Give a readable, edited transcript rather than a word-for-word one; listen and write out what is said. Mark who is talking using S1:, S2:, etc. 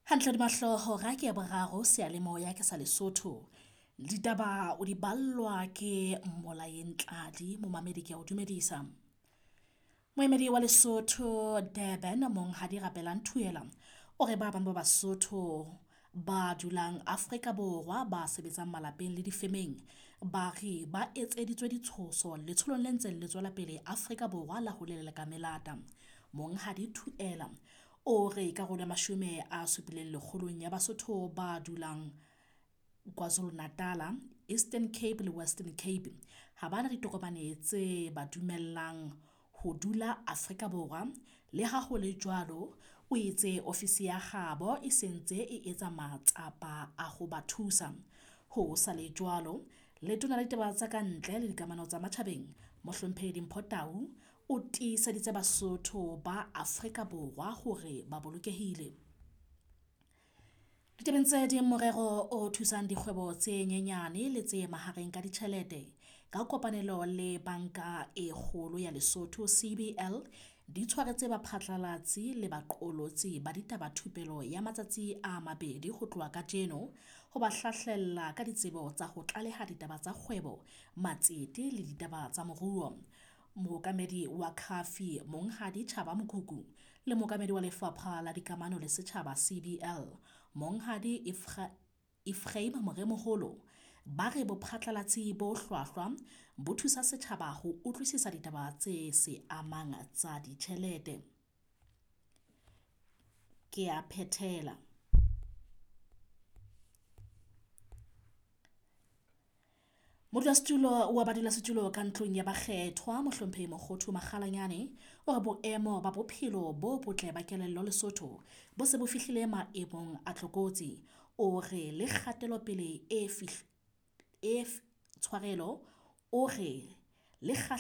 S1: Hantle hodima hlooho hora ke ya boraro seyalemoya ke sa Lesotho. Ditaba o di ballwa ke Mmolaeng Tladi, momamedi ke a o dumedisa. Moemedi wa Lesotho Durban Monghadi Rapelang Thuela o re ba bang ba Basotho ba dulang Afrika Borwa ba sebetsang malapeng le difemeng, ba re ba etseditswe ditshoso letsholong le ntseng le tswela pele Afrika Borwa la ho leleka melata. Monghadi Thuela o re karolo ya 70 lekgolong ya Basotho ba dulang Kwazulu Natala, Eastern Cape le Western Cape ha bana ditokomane tse ba dumellang ho dula Afrika Borwa. Le ha ho le jwalo, o itse ofisi ya habo e sentse e etsa matsapa a ho ba thusa. Ho sa le jwalo, Letona la ditaba tsa kantle le dikamano tsa matjhabeng, Mohlomphehi Dimpho Tau o tiiseditse Basotho ba Afrika Borwa hore ba bolokehile. Ditabeng tse ding, morero o thusang dikgwebo tse nyenyane le tse mahareng ka ditjhelete ka kopanelo le Banka e Kgolo ya Lesotho CBL di tshwaretse baphatlalatsi le baqolotsi ba ditaba thupelo ya matsatsi a mabedi ho tloha kajeno ho ba hlahlella ka ditsebo tsa ho tlaleha ditaba tsa kgwebo, matsete le ditaba tsa moruo. Mookamedi wa CAFI Monghadi Chaba Mokuku le mookamedi wa Lefapha la Dikamano le Setjhaba CBL Monghadi Ephraim Moremoholo ba re bophatlalatsi bo hlwahlwa bo thusa setjhaba ho utlwisisa ditaba tse se amang tsa ditjhelete. Ke a phethela. Modulasetulo wa badulasetulo ka ntlong ya bakgethwa Mohlomphehi Mokgothu Makgalanyane o re boemo ba bophelo bo botle ba kelello Lesotho bo se bo fihlile maemong a tlokotsi. O re le kgatelopele e tshwarelo o re le.